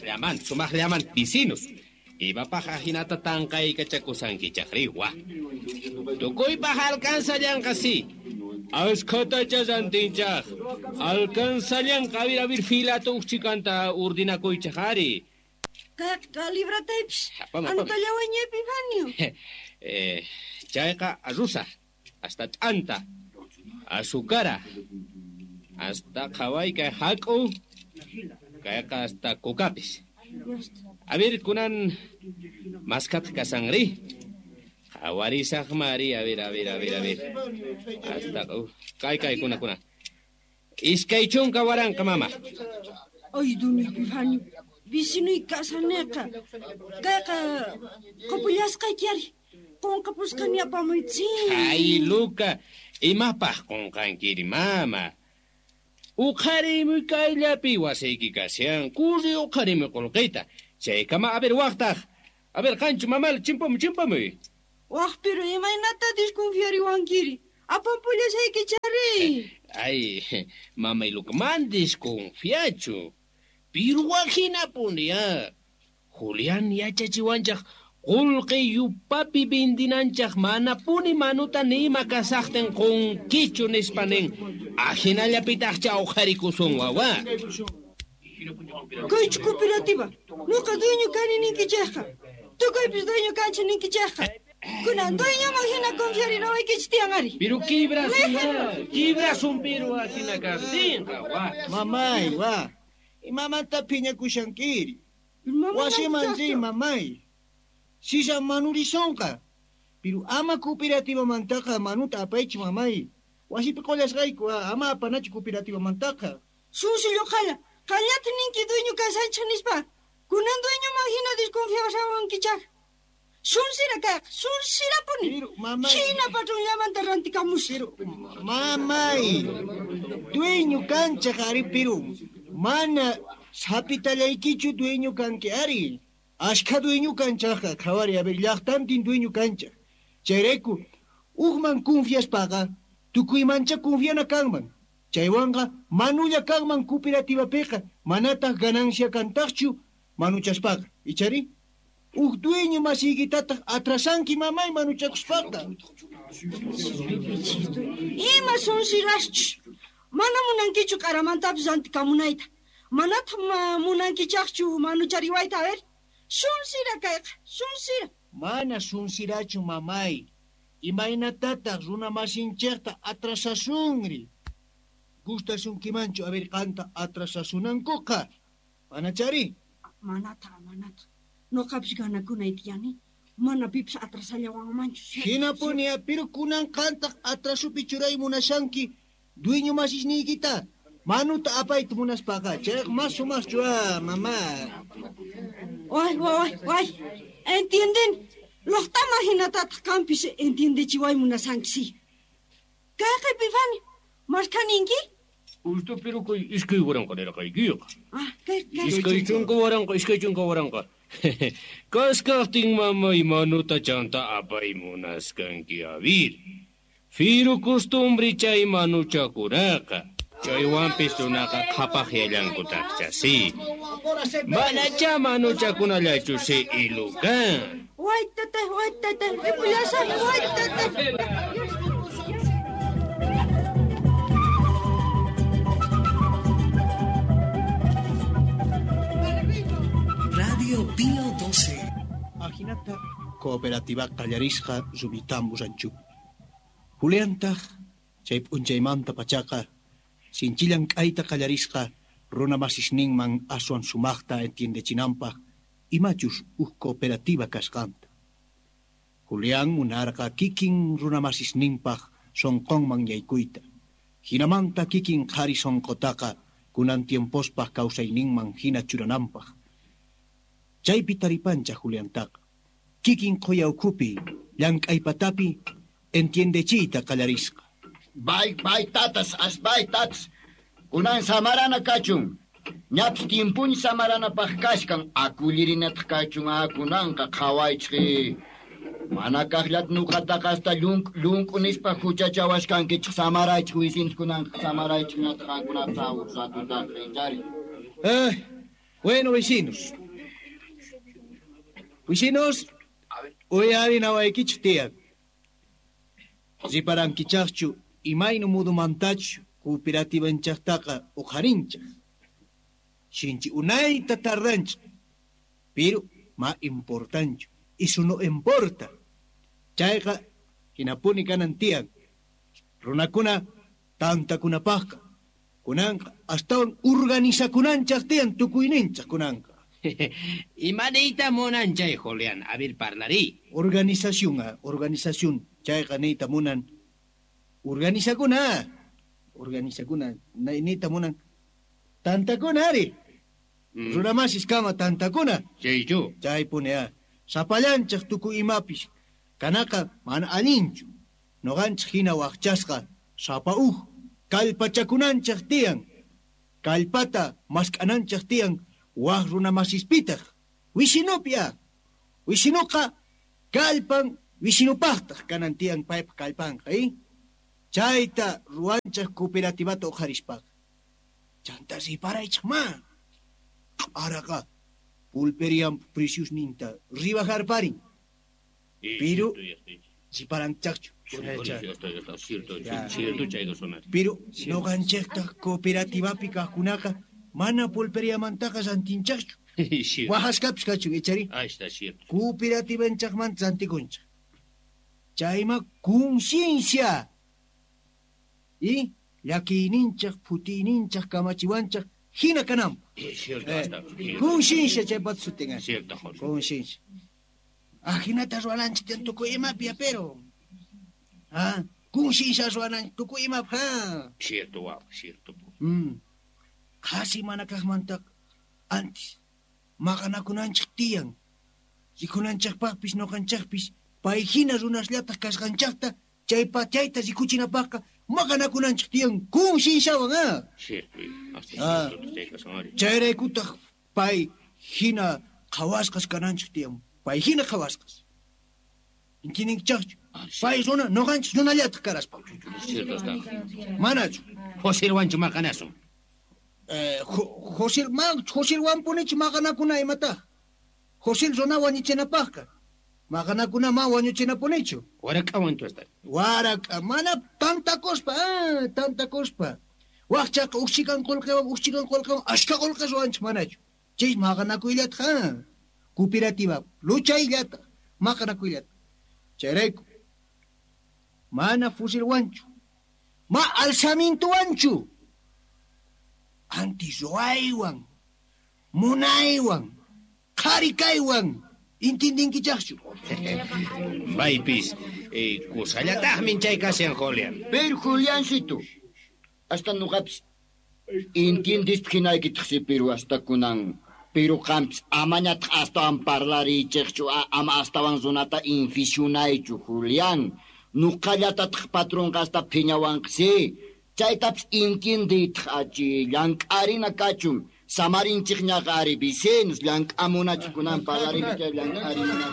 Sumaqllaman, sumaqllaman, vecinos. Imapaq ajinata tanqaykachakusankichaqri, wa. Tukuypaq alcanzallanqa si. Askhatacha rantinchaq. Alcanzallanqa, a ver, filata uqchikanta urdinakuychaq ari. Kayqa librataypis. Apam, apam. Anotallawaña Epifanio. Chayqa arrusa, hasta t'anta, azúcara, hasta qhaway kay hak'u, kayqa hasta kukapis. A ver, kunan maskataq kasanri. Qhawarisaqmari, a ver, a ver, a ver, a ver. Hasta, kay, kay, kuna, kuna. 20 waranqa, mama. Ay, don Epifanio, vecinuy kasaneqa. Kayqa qupullasqayki ari. Qunqapusqani apamuytsin. Ay, Luca, imapaq qunqankiri, mama? Uqharimuy kayllapi wasiyki kashan. Kurri uqharimuy qullqita. Chaykama, a ver, waqtaq. A ver, qanchu, mamal, chimpamuy, chimpamuy. Waq, pero imaynata desconfiariwankiri? Apampullasayki chari. Ay, mamay Luca, man desconfiachu. Pero wajinapuni, ah. Julián yachachiwanchaq qullqi yupapi vendinanchaq manapuni manuta nima kasaqtin qunkichu nispa nin. Ajinallapitaqcha uqharikusun, wawa. Kaychu cooperativa. Nuqa dueño kani ninkichaqqa. Tukuypis dueño kanchi ninkichaqqa. Kunan dueñoman hina confiarinawaykichik tiyan ari. Pero kibrasun, ah, kibrasun pero ajina kaqtinqa, wa. Mamay, wa. Imamanta phiñakushankiri. Wasiman riy, mamay. Sisa manurisonqa. Pero ama cooperativamantaqa manuta apaychu, mamay. Wasipi qullasqayku, ama apanachu cooperativamantaqa. Susillo qalla, qallata ninki dueño kasanchik nispa. Kunan dueñoman hina desconfiasawankichaq. Sunsira kayqa, sunsirapuni. Pero, mamay. Hina patronllamanta rantikamus. Pero, mamay, dueño kanchaq ari, pero mana sapitallaykichu dueño kanki ari. Ashkha dueño kanchaqqa, qhawari, a ver, llaqtantin dueño kanchaq. Chayrayku, uqman confiaspaqa, tukuymancha confiana kanman. Chaywanqa manulla kanman cooperativapiqa, manataq ganancia kantaqchu manuchaspaqa. Ichari? Uq dueño masiykitataq atrasanki mamay manuchakuspaqa. Ima sunsiraschu. Mana munankichu q'aramantapis rantikamunayta. Manataq munankichaqchu manuchariwayta, a ver. Sunsira kayqa, sunsira. Mana sunsirachu, mamay. Imaynatataq runa masinchikta atrasasunri? Gustasunkimanchu, a ver, qanta atrasasunankuqa? Manachari? Manata, manata. Nuqapis ganakunay tiyani. Mana pipis atrasallawanmanchu. Hinapuni, pero kunan qantaq atrasupi churay munashanki dueño masisniykita. Manuta apayta munaspaqa, chayqa mas sumaqchu, ah, mamá. Ay, ay, ay. Entienden. Luqtama hinatataq qampis entiendechiway munasanki, sí. Kayqa Epifanio, markaninki? Usta, pero kay iskay waranqa nirqaykiqa. Ah, kay, kay. 20 waranqa, 20 waranqa. Kaskaqtin mamay manuta chanta apay munaskanki, a ver. Firu costumbre chay manuchakunaqa. Chaywanpis runaqa qhapaqyallankutaqcha, sí. Manacha manuchakunallachu, sí, ilukan. Waytata, waytata, ripullasaq, waytata. Radio Pío 12. Ajinata cooperativa qallarisqa Rumitambo ranchupi. Juliantaq chay p'unchaymanta pachaqa sinchillan k'ayta qallarisqa runa masisninman aswan sumaqta entiendechinanpaq imachus uj cooperativa kasqanta. Julián munarqa kikin runa masisninpaq sonqonman yaykuyta. Hinamanta kikin qhari sonqotaqa kunan tiempospaq kawsayninman hina churananpaq. Chaypi taripancha Juliantaqa. Kikin qhuya ukhupi llank'aypatapi entiendechiyta qallarisqa. Bay, bay, tatas, as bay, tatas. Kunan samarana kachun. Ñapis tiempuñ samaranapaq kashkan, akullirinataq kachun, akunanqa qhawaychik. Mana kaqllat nuqataqa hasta llunk, llunk nispa huchachawashkankichik samaraychik wisinchik kunanqa samaraychik ñataq qankunapis awsatutaq rinchari. Ay, Bueno, vecinos. Vecinos, uyarinawaykichik tiyan. Riparankichaqchu imayna mudumantachu cooperativanchaqtaqa uqharinchaq. Sinchi unayta tardanchik. Pero ma importanchu. Eso no importa. Chayqa hinapuni kanan tiyan. Runakuna tantakunapaqqa. Kunanqa astawan organizakunanchaq tiyan tukuyninchaq kunanqa. Ima niyta munan chay, Julián? A ver, parlarí. Organización, organización. Chayqa niyta munan. Organizakuna. Organizakuna niyta munan. Tantakuna ari. Runamasis kama tantakuna. Chaychu. Chaypuni sapallanchaq tukuy imapis. Kanaqa mana allinchu. Nuqanchik hina waqchasqa sapa uj kallpachakunanchaq tiyan. Kallpata mask'ananchaq tiyan waq runamasispitaq. Wisinupi Wisinuqa kallpan wisinupaqtaq kanan tiyan paypa kallpanqa, Chayta ruwanchaq cooperativata uqharispaqa. Chanta riparaychaq ma. Q'araqa pulperian preciosninta ribajarparin. Pero riparanchaqchu. Pero nuqanchikta cooperativapi kaqkunaqa mana pulperiamantaqa rantinchaqchu. Waqasqapis kachun ichari. Cooperativanchaqmanta rantikunchaq. Chayma conciencia. Y llakiyninchaq phutiyninchaq kamachiwanchaq hina kananpaq. Conciencia chaypata sutin. Conciencia. Ajinata ruwananchik tiyan tukuy imapi pero. Conciencia ruwananchik tukuy imapi. Cierto, wawa, cierto. Qhasi mana kaqmantaqa antes maqanakunanchik tiyan. Rikunanchikpaqpis nuqanchikpis pay hina runasllataq kasqanchaqta chayta rikuchinapaqqa maqanakunanchik tiyan concienciawan. Cierto, Chayraykutaq pay hina qhawasqas kananchik tiyan. Pay hina qhawasqas. Intinninkichaqchu? Pay runa nuqanchik runallataq karaspa. Cierto está. Manachu? Joselwanchu maqanasun. Josel Joselwanpunichu maqanakuna imataq? Josel runa wañuchinapaqqa. Maqanakuna ma wañuchinapunichu. Warak'awanchu hasta. Warak'a mana tantakuspa, tantakuspa. Waqchaqa uqchikan qullqiwan ashka qullqi ruwanchik manachu. Chay maqanakuyllataq, cooperativa luchayllataq, maqanakuyllataq. Chayrayku mana fusilwanchu, ma alzamintuwanchu. Anti ruwaywan, munaywan, qhari kaywan intindinkichaqchu. Maypis kusallataqmin chay kashan, Julián. Pero Juliancito, hasta nuqapis entiendispa hinaykitaqsi, pero hasta kunan. Pero qampis amañataq astawan parlarichiqchu, ama astawan runata inficionaychu, Julián. Nuqallatataq patronqa hasta phiñawanqsi. Chaytapis entiendiytaq achi llank'arina kachun. Samarinchikñaqa ari vecinos llank'amunachik kunan parlarinchik llank'arina.